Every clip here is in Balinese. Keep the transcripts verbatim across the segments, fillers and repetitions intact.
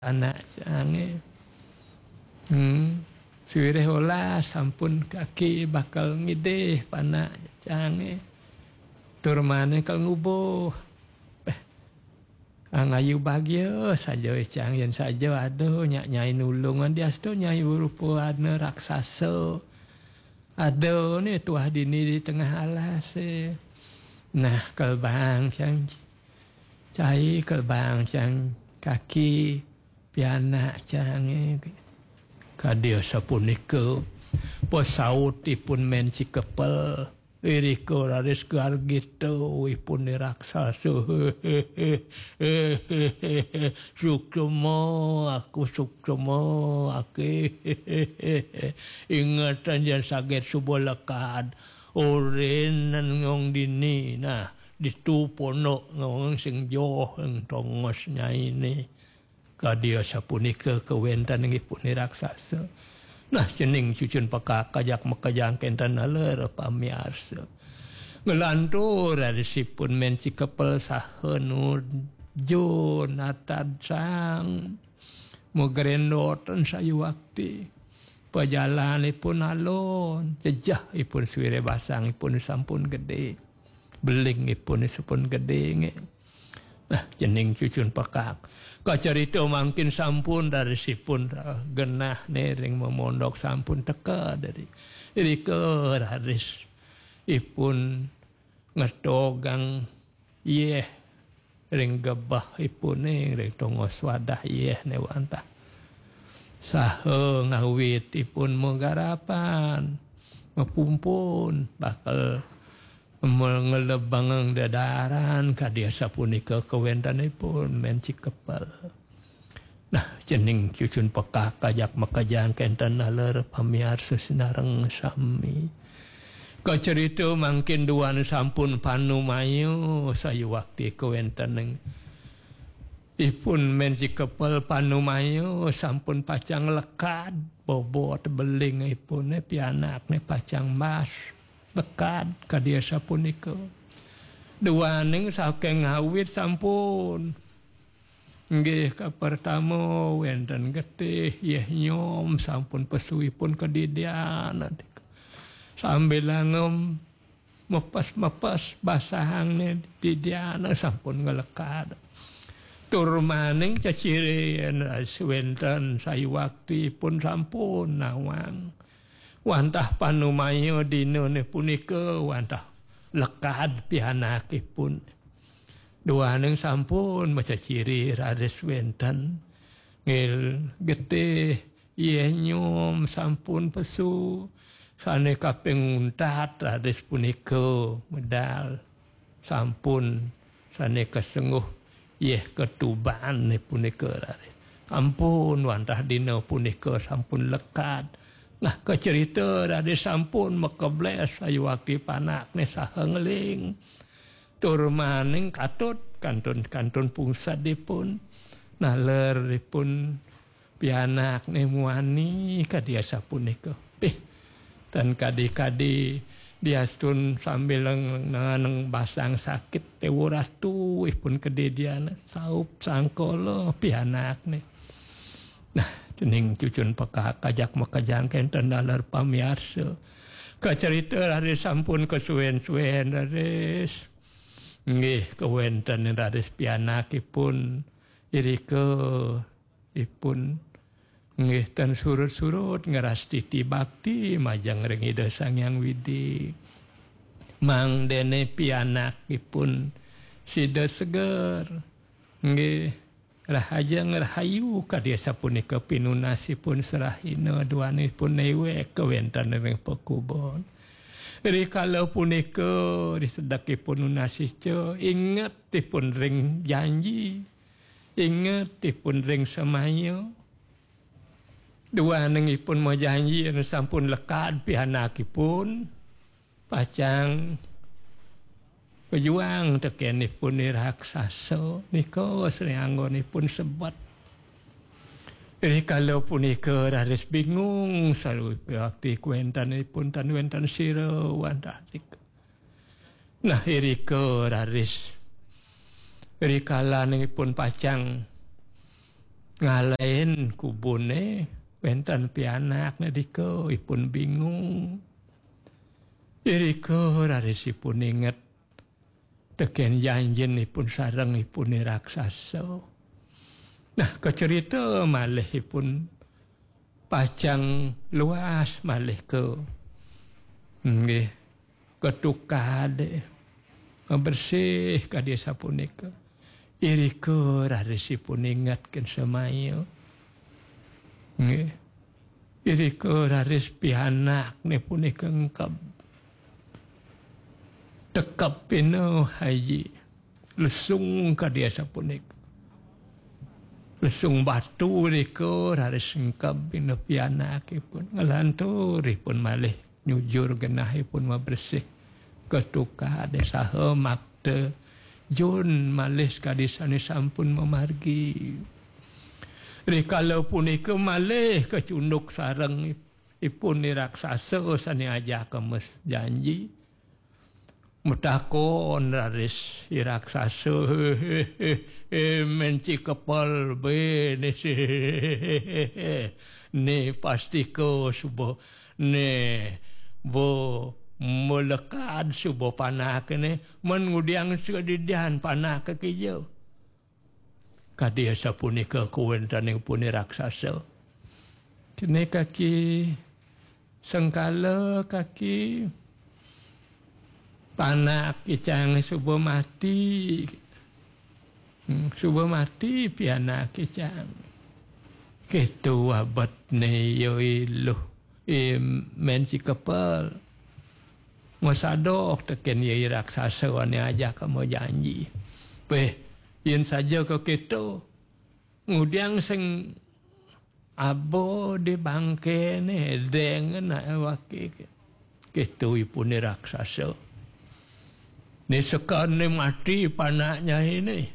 Anak cangé. Hmm. Suwirih olas sampun kaki bakal ngidih panak cangé. Tur mané kal ngubuh. Péh. Angayu bagia saja cang yén saja ada nyak nyai nulungan diastu nyai berupa ana raksasa. Ada né tuah dini di tengah alas. Nah, kal bang cang cai kal bang cang kaki pianak cangé. Kadi sapunika pasautipun Men Cikepel. Irika raris gargita ipun raksasa. Suksma aku, suksma aku. Ingetan jan saget suba lekad. Orin nyong dini. Nah, ditu ponok nyong sing joh ing tongos nyainé. Kadi sapunika kawéntenanipun raksasa. Nah, cening cucun pekak kajak makejang kénten naler pamiarsa. Nglantur rarisipun Men Cikepel saha nuju natad sang magrendotan sayuwakti. Pajalanipun alon, jejehipun suwiré basangipun sampun gedé. Belingipun sampun gedé nggih. Nah, cening cucun pekak. Kacarita mangkin sampun rarisipun genah né ring mamondok sampun teka dari. Irika raris ipun ngetogang yéh ring gebehipun ring tongos wadah yéh né wantah. Saha ngawitipun magarapan, mapumpun, bakal ngelebang dedaran kadi sapunika kawéntenanipun Men Cikepel. Nah, cening cucun pekak kajak makejang kénten naler pamiarsa sinareng sami. Kacarita mangkin duaning sampun panumaya sayuwakti kawéntenanipun Men Cikepel panumaya sampun pacang lekad bobot belingipun pianakné pacang mas. Lekad kadi sapunika. Duaning saking ngawit sampun. Nggih, kapertama wénten getih, yéh nyom sampun pesuipun kadidian. Sambilanga mepes-mepes basahangné didian sampun nglekad. Tur maning cecirin wénten sayuwaktipun sampun nawang. Wantah panumaya dinané punika wantah lekad pianakipun. Duaning sampun maceciri raris wénten nggih getih yéh nyom sampun pesu sané kaping untat raris punika medal. Sampun sané kasengguh yéh katuban punika raris. Ampun wantah dina punika sampun lekad. Nah, kacerita raris sampun makeblés sayuwakti panakné saha ngeling. Tur maning katut kantun-kantun pungsadipun. Naleripun pianakné muani kadi sapunika. Pih, tan kadi-kadi diastun sambil nang basang sakit téwurah tuwihpun kadidian saup sangkala pianakné. Nah, cening cucun pekak kajak makejang kénten naler pamiarsa. Kacarita raris sampun kasuwén-suwén raris. Nggih, kawéntenan raris pianakipun irika ipun nggih tan surut-surut ngrastiti bakti majeng ring Ida Sang Hyang Widi. Mangdané pianakipun sida seger. Nggih, rahajeng rahayu kadi sapunika pinunasipun serahina duanipun néwék kawéntenan ring pakubon. Rikala punika risedekipun nunas ica ingetipun ring janji. Ingetipun ring semaya. Duaning ipun majanji yén sampun lekad pianakipun, pacang pejuang tekén ipun raksasa nika sri anggonipun sebet. Rikala punika raris bingung saluwi piwakti kawéntenipun tan wénten sira wantah nika. Nah, irika raris rikalaning ipun pacang ngalahin kubune wenten pianakne dika, ipun bingung. Irika raris ipun inget teken janjin ipun sareng ipun i raksasa. Nah, kacerita malih ipun pacang luas malih ka, nggih, ka tukade, bersih kadi sapunika. Irika raris ipun ingetken semaya. Nggih. Irika raris pianakne punika engkeb. Tekep pina, Haji. Lesung kadi sapunika. Lesung batu irika raris engkeb pina pianakipun. Ngelantur ipun malih nyujur genahipun mabersih ka tukade saha makta jun malih kadi sane sampun mamargi. Rikala punika malih kacunduk sareng ipun i raksasa sane ajaka mes janji. Matakon raris i raksasa, "He, he, he, he, Men Cikepel, bene si, ne pastika suba, ne bo melekad suba panakne, men ngudiang sedidian panake kija?" Kadi sapunika kawentenipun i raksasa. Kene kaki sengkala kaki panak icang suba mati. Hmm, suba mati pianak icang. Ketu abetne ya iluh. I Men Cikepel. Masadok teken ya i raksasa ane ajaka majanji. Weh, yen saja ka ketu. Ngudiang sing aba di bangkene dengan awake. Ketu ipun i raksasa. Ni sekane mati panak nyai ni.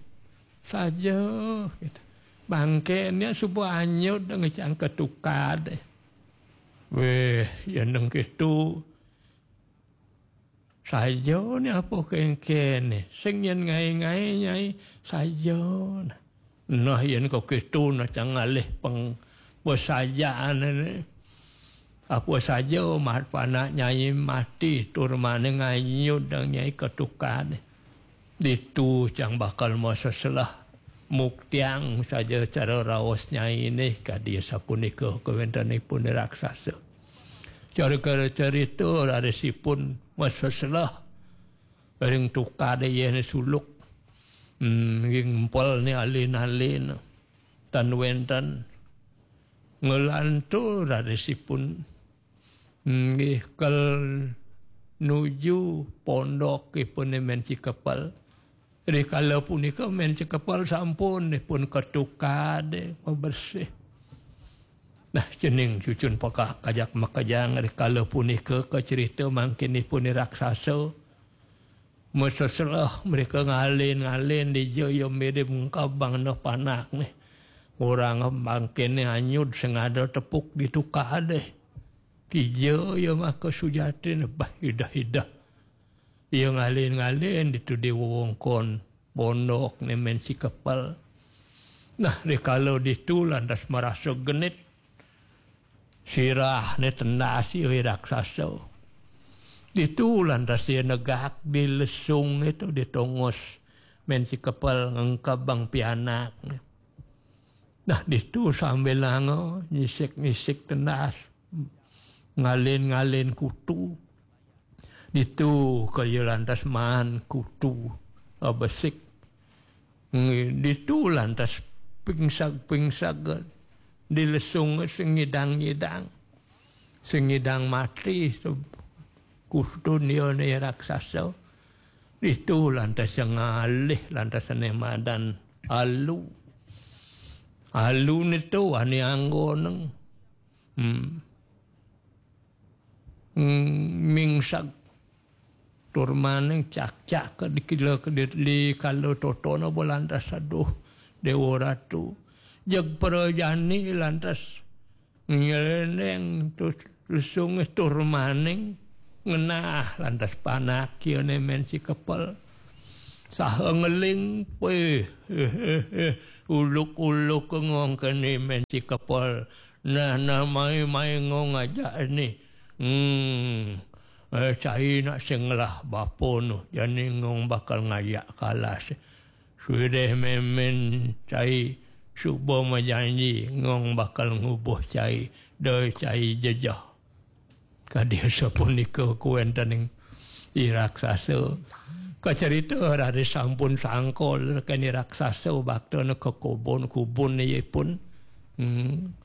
Saja, gitu. Bangkene suba anyud ngecang ketukade. Weh, yen nang ketu. Saja ni apa kengkene. Sing yen ngae-ngae nyai saja. Nah, yen kok ketu nah cang ngalih peng pesajaan ni. Apa saja mat panak nyai mati tur mane nganyud dang nyai ketukade. Ditu cang bakal maseselah. Muktiang saja cara raos nyai ni kadi sapunika kawentenipun raksasa. Cara cerita rarisipun maseselah ring tukade yene suluk. Hmm, nggih ngempel ni alin-alin. Tan wenten ngelantur rarisipun. Nggih, kel nuju pondokipune Men Cikepel. Rikala punika Men Cikepel sampun dipun ketukade mabersih. Nah, cening cucun pekak kajak makejang rikala punika kacerita mangkinipun raksasa. Maseselah mereka ngalin-ngalin dija ya mirip engkabang neh panak nih. Orang mangkin anyud sing ada tepuk di tukade. Kija ya maka sujatin bah idah-idah. Ya ngalin-ngalin ditu di wewengkon pondok ne Men Cikepel. Nah, rikala ditu lantas marasa genit. Sirah ne tendas ya raksasa. Ditu lantas ya negak di lesung itu di tongos Men Cikepel ngengkabang pianak. Nah, ditu sambil nanga nyisik-nyisik tendas. Ngalin-ngalin kutu. Ditu kaya lantas maan kutu, eh, besik. Ngi-, ditu lantas pingsag-pingsag, eh, di lesung sing ngidang-ngidang. Sing ngidang mati, se-, kutun ya ne raksasa. Ditu lantas sing ngalih, lantas ne madan alu. Alu nitu wani anggoneng. Hmm. Hmm, mingsag. Tur maning cak-cak ke dikila ke di, di kala totona bo lantas, aduh, Dewa Ratu. Jeg prajani lantas nyelendeng terus lesunge tur maning ngenah lantas panak kiane Men Cikepel. Saha ngeling, weh, eh, eh, eh, Uluk-uluk ngong keni men si kepel. Nah, nah, mai-mai ngong aja ni. Hmm. Eh, cai nak sing ngelah bapa nu. Jani ngong bakal ngajak kalas. Sudah memen cai suba majanji ngong bakal ngubuh cai. Doi cai jejeh. Kadi sapunika kuwéntening i raksasa. Kacarita raris sampun sangkol keni raksasa baktana ka kubun-kubun ipun. Hmm.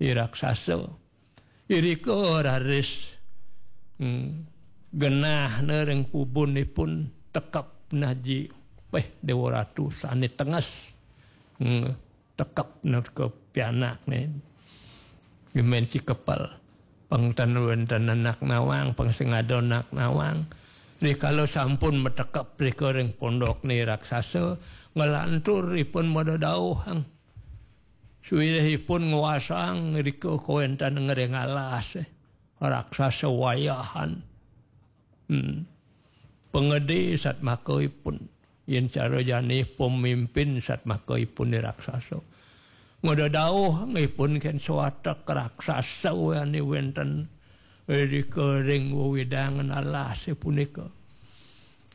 I raksasa. Irika raris, hmm, genahna ring kubun ipun tekep naji. Wéh, Déwa Ratu sané tenges. Hmm. Tekep nerka pianakné. Gemen si kepel. Pang tan wénten anak nawang, pang sing ada anak nawang. Rikala sampun matekep rika ring pondokné raksasa, nglantur ipun madadauhang. Suwirih ipun nguasang rika kawéntenan ring alas, eh. Raksasa wayahan. Hmm. Pangedé satmaka ipun. Yén cara jani pemimpin satmaka ipun i raksasa. Ngadadauh ipun kén sawatek raksasa ané wénten irika ring wewidangan alasé punika.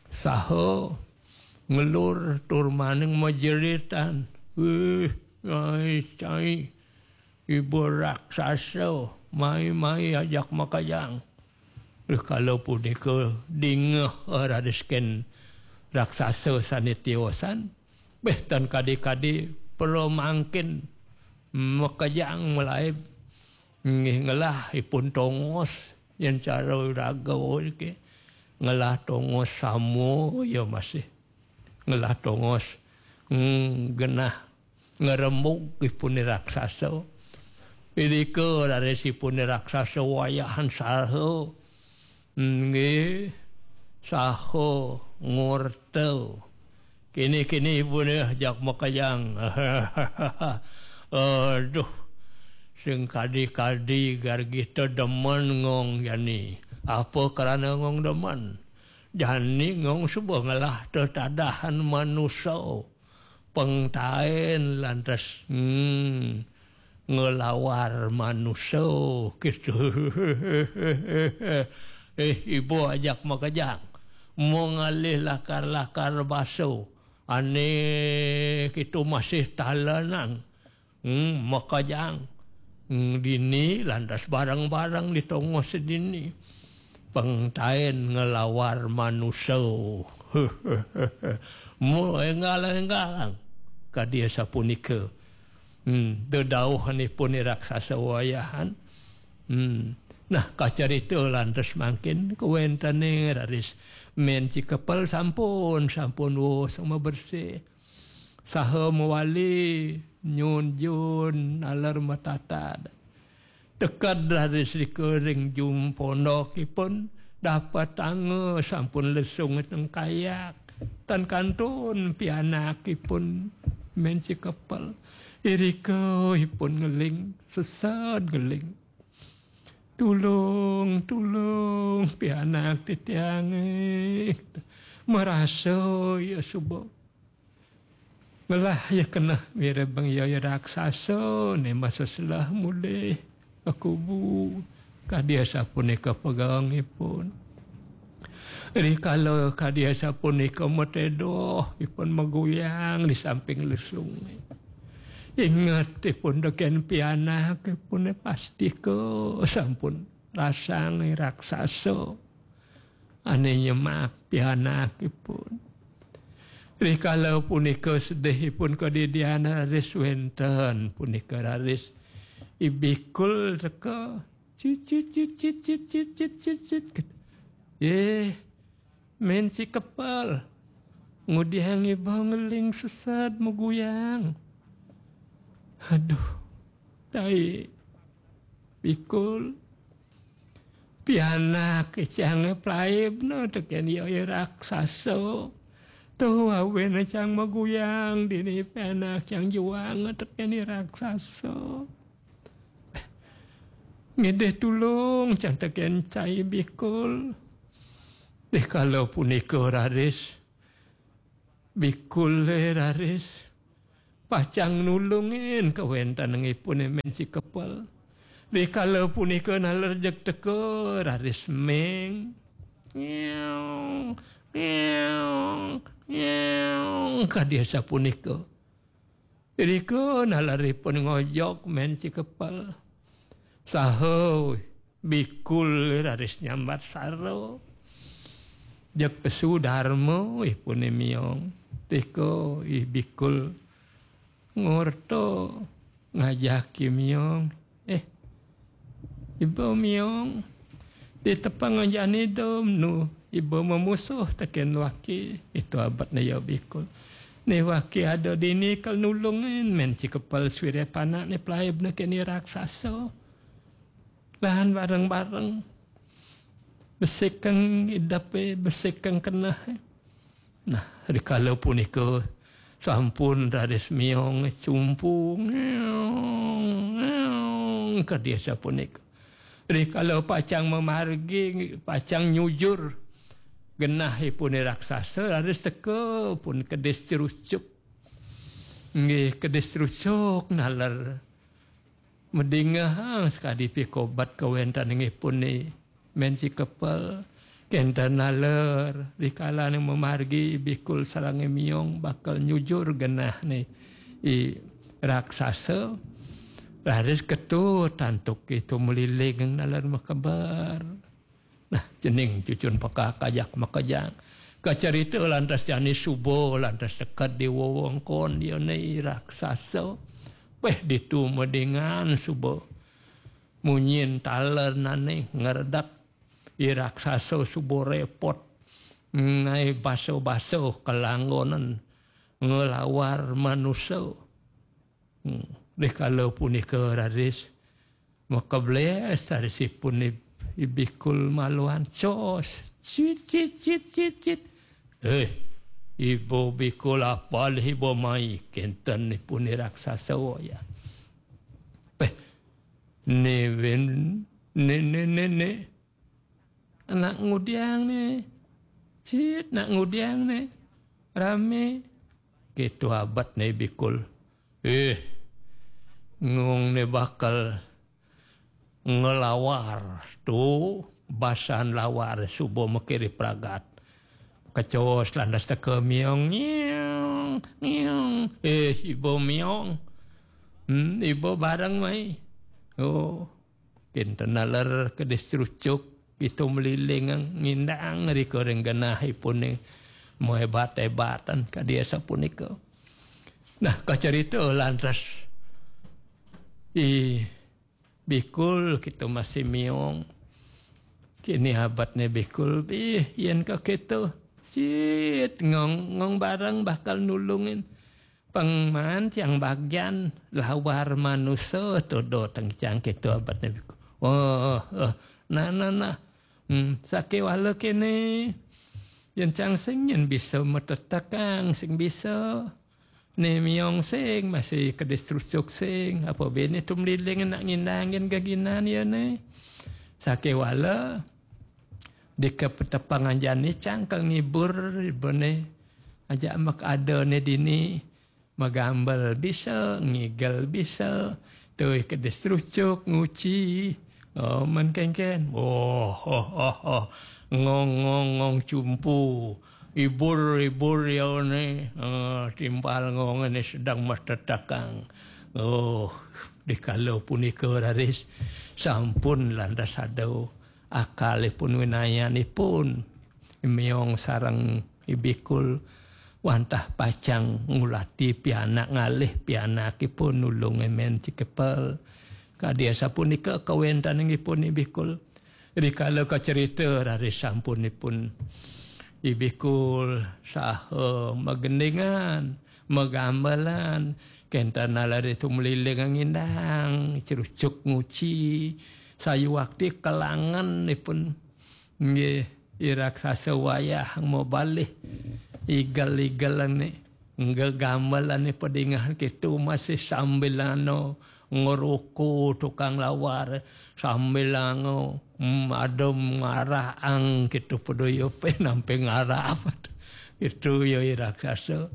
Saha ngelur tur maning majeritan. Wih, cai, cai. Iba raksasa, mai-mai ajak makejang. Rikala punika dingeh raris kén raksasa sané tiosan. Béh tan kadi-kadi para mangkin makejang malaib. Nggih ngelah ipun tongos yén cara raga niki. Ngelah tongos sama ya masih. Ngelah tongos. Hmm, genah ngrembug ipun raksasa. Irika raris ipun raksasa wayahan saha. Nggih, saha ngorta. Kini-kini ipun jak makejang. Aduh, sing kadi-kadi gargita demen ngong jani. Apa krana ngong demen? Jani ngong suba ngelah tetadahan manusa. Pengtaén lantas, hmm, ngelawar manusa gitu. Eh, ibu ajak makejang. Mengalih lakar-lakar baso. Ané kitu masih talenang. Hmm, makejang. Hmm, dini lantas bareng-bareng di tongos dini. Pengtaén ngelawar manusa. Mu enggal-enggalang. Kadi sapunika. Hmm, dedauhanipun i raksasa wayahan. Hmm. Nah, kacarita lantas mangkin kawéntené raris men si kepel sampun, sampun wus mabersih. Saha mawali nyunjun naler matatad. Teked raris rika ring jum pondokipun dapetanga sampun lesung tengkayak. Tan kantun pianakipun men si kepel. Irika ipun ngeling, sesed ngeling. Tulung, tulung, pianak titiangé. Marasa ya suba. Ngelah ya keneh mirib bang ya, ya raksasa né masa selah mulih ka kubu. Kadi asapunika pegangipun. Rikala kadi asapunika matedoh ipun maguyang di samping lesung. Inget ipun tekén pianak ipun pastika sampun rasang raksasa. Ané nyemak pianakipun. Rikala punika sedihipun kadidian raris wénten punika raris I Bikul teka. Cit, cit, cit, cit, cit, cit, cit, cit, cit. Eh, men si kepel. Ngudiang iba ngeling sesed maguyang. Aduh, tai. Bikul. Pianak icangé plaibna tekén ya, ya raksasa. Tuh awin cang maguyang dini pianak cang juang tekén ya raksasa. Ngidih tulung cang tekén cai Bikul. Dikala punika raris Bikulé raris pacang nulungin kawéntenangipuné Mén Cikepel. Rikala punika naler jeg teka raris méng. Ngeong, ngeong, ngeong, kadi sapunika. Irika naleripun ngojog Mén Cikepel. Saha bikul raris nyambat sara. Jeg pesu darma ipuné miong. Tika I Bikul ngorta ngajaki miong. Eh, iba miong. Ditepang jani dom nu iba mamusuh tekén waki. Itu abetné ya bikul. Né waki ada dini kal nulungin Mén Cikepel suire panak né pelaibna keni raksasa. Lahan bareng-bareng. Besikeng idepé, besikeng keneh. Nah, rikala punika sampun raris miong cumpu, ngeong, ngeong, kadi sapunika. Rikala pacang mamargi, pacang nyujur genahipun raksasa, raris teka pun kedis cerucuk. Nggih, kedis cerucuk naler madingehang sakadi pikobat kawéntenangipuné Mén Cikepel. Kénten naler, rikalané mamargi bikul sareng miong bakal nyujur genahné I raksasa. Raris ketut antuk I Tumliling naler makeber. Nah, cening cucun pekak ajak makejang. Kacarita lantas jani suba, lantas seked di wewengkon diané I raksasa. Péh ditu madingan suba. Munyin talernané ngredek. I raksasa suba répot. Nai basa-basa kalanggonan ngelawar manusa. Hmm. Rikala punika raris makeblés rarisipun I, I Bikul maluan cos. Cit, cit, cit, cit, cit. Eh, Ibu Bikul, apa ibu mai? Kénten ipun I raksasa ya. Péh, né wén, né, né, né, né. Nak ngudiang né. Cit, nak ngudiang né. Ramé. Kitu abetné bikul. Eh, ngong né bakal ngelawar tu basan lawar suba makiri pragat. Kecos lantas teka miong, ngiong, ngiong. Eh, ibu miong. Hmm, ibu bareng mai. Oh, kinten naler kedis cerucuk, itu meliling ngindang rika ring genahipun ning mahebat-hebatan kadi sapunika. Nah, kacarita lantas I Bikul kitu masih miong. Kini abetné bikul, bih, yén kakitu, sit, ngong, ngong bareng bakal nulungin. Pengman tiang bagian lawar manusa, tuduh teng cang kitu abetné bikul. Oh, oh, nah, nah, nah. Hmm, sakéwala kéné. Yén cang sing yén bisa matetekang, sing bisa. Né miong sing, masih kedis cerucuk sing. Apa béné tumliling nak ngindangin geginan ya né. Sakéwala, dikepetepang anjani cang kal ngibur, ibune. Ajak mek ada né dini. Magambel bisa, ngigel bisa, tui kedis cerucuk, nguci. Oh, men kénkén. Oh, oh, oh, oh. Ngong, ngong, ngong cumpu. Ibur, ibur ya né. Ah, timpal ngong né sedang matetekang. Oh, dikala punika raris sampun lantas ada akalipun winayanipun. Miong sareng I Bikul wantah pacang ngulati pianak ngalih pianakipun nulung Mén Cikepel. Kadi asapunika kawéntenanipun I Bikul. Rikala kacerita raris sampunipun I Bikul saha magendingan, magambelan, kénten naler tumliling ngindang, cerucuk nguci, sayuwakti kelangenipun. Nggih, I raksasa wayah mabalih igel-igelané, gegamelané padingeh kitu masih sambilana ngeruku tukang lawar, sambilana, mm, ada ngaraang kitu peduyupe nampi ngarap. Kitu ya I raksasa.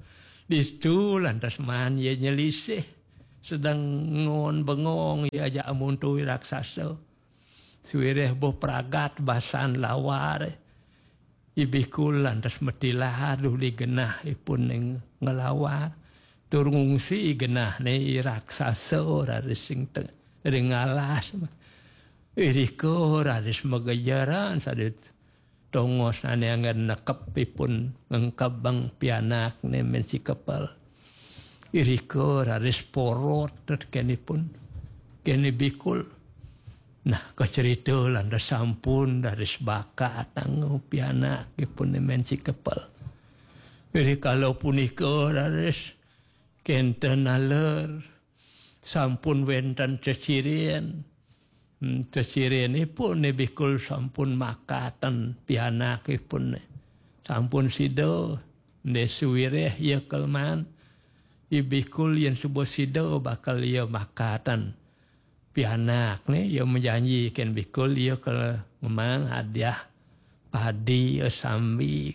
Ditu lantas maan ia nyelisih. Sedeng ngon bengong ia ajak amuntuy raksasa. Suwireh boh pragat basan lawar. I bikul lantas matilar duli genah ipun ning ngelawar. Tur ngungsi genahne i raksasa raris sing te-, ring alas. Irika raris magejeran sadit tongos ane anggen nekep ipun ngengkebeng pianakne Men Si Kepel. Irika raris porot teken ipun. Kene bikul. Nah, kacerita lantas sampun raris bakat anggo pianak ipun Men Si Kepel. Iri kala punika raris kenten aler sampun wenten ceciren. Hmm, ceciren ipun ne bikul sampun makaten pianak ipun ne. Sampun sida, ne suwireh ia kelman. I bikul yen suba sida bakal ia makaten pianak ne, ia menjanjikan bikul ia ke ngemang hadiah padi, ia sambi.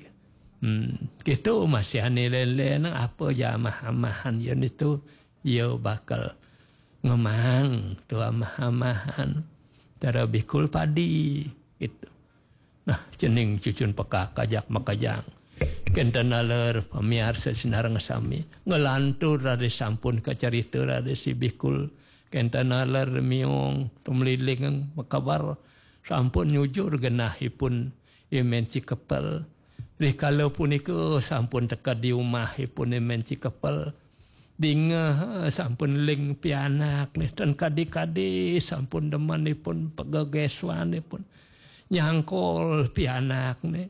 Hmm, gitu masih ane len-len apa ja amah-amahan ia nitu, ia bakal ngemang tu amah-amahan. Cara bikul padi, gitu. Nah, cening cucun pekak ajak makejang. Kenten aler pamiarsa sinareng sami. Ngelantur raris sampun kacarita raris si bikul. Kenten aler miung tumeliling makabar sampun nyujur genah ipun I Men Si Kepel. Rikala punika sampun teka di umah ipun I Men Si Kepel. Dingeh sampun ling pianak ne, ten kadi-kadi sampun demen ipun pegegeswan ipun. Nyangkol pianak ne.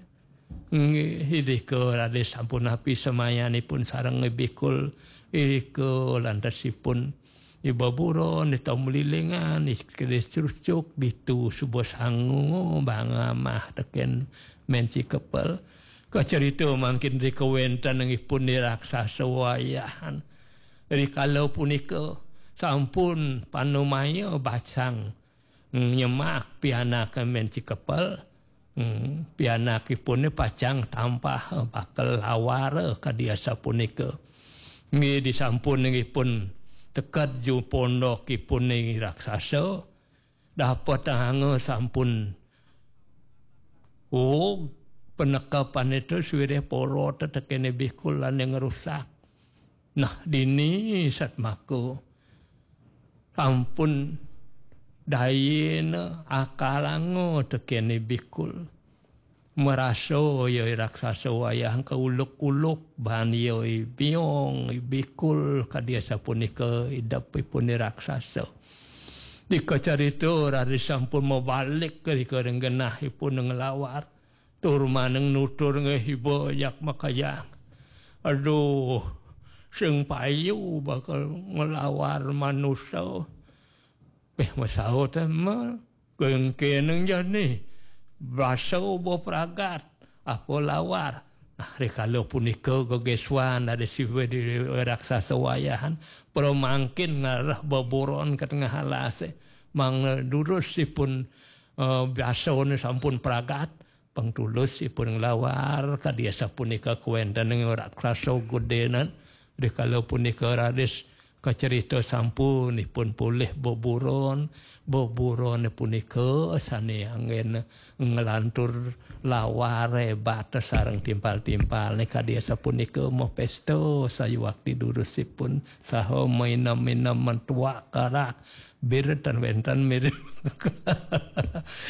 Nggih, irika raris sampun api semayanipun sareng bikul. Irika lantasipun iba buron, ita melilingan, kedis cucuk, ditu suba sangu, bang amah teken Men Si Kepel. Kacerita mangkin rika wenten ipun ni raksasa wayahan. Rikala punika sampun panumaya bacang nyemak pianak Men Si Kepel. Hmm, pianakipune pacang tampah bakal lawar kadi asapunika. Nggih disampun ipun teked ju pondokipune raksasa. Dapet anga sampun. Oh, penekepane tu suwireh porot tekene bikul lan yang rusak. Nah, dini satmaka sampun dayena akalanga tekene bikul. Merasa ya raksasa wayah kauluk-uluk ban ya biong bikul kadi asapunika idepipune raksasa. Dikacarita raris sampun mabalik rika ring genahipun nglawar. Tur maneng nutur ngehiba jak makajang. Aduh, sing payu bakal nglawar manusa. Peh masaut ma kengkeneng jani. Basa ubo pragat. Apa lawar. Nah, rikala punika gegeswan dari siwe di raksasa wayahan. Pramangkin ngarah beburon ke tengah alase. Mang durus ipun, eh, biasane sampun pragat. Pang tulus ipun nglawar kadi asapunika kawenten ing raksasa gedenan. Rikala punika raris kacerita sampun ipun polih beburon. Beburon punika sane anggen nglantur lawar hebat sareng timpal-timpal ne kadi asapunika mapesta sayuwakti durusipun saha mainem-inem mentuak karak. Bir tan wenten mirip.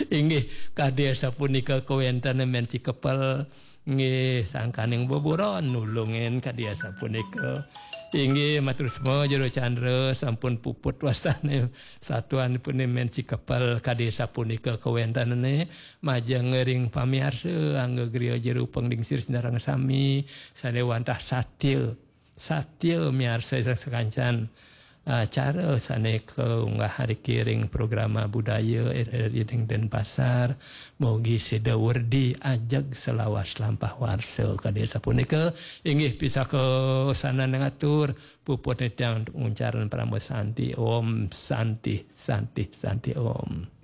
Inggih, kadi asapunika kawenten Men Si Kepel. Nggih, sangkaning beburon nulungin kadi asapunika. Inggih, matur sema Jero Chandra sampun puput wastane satuanipun Men Si Kepel kadi asapunika kawentenane majeng ring pamiarsa angga griya Jero Panglingsir sinareng sami sane wantah satya. Satya miarsa sakancan acara sane kaunggah riki ring programa budaya R R I ring Denpasar. Mugi sida werdi ajeg salawas lampah warsa kadi sapunika. Inggih pisaka sanan ngatur puput titiang nguncaran parama santi. Om Santi, Santi, Santi Om.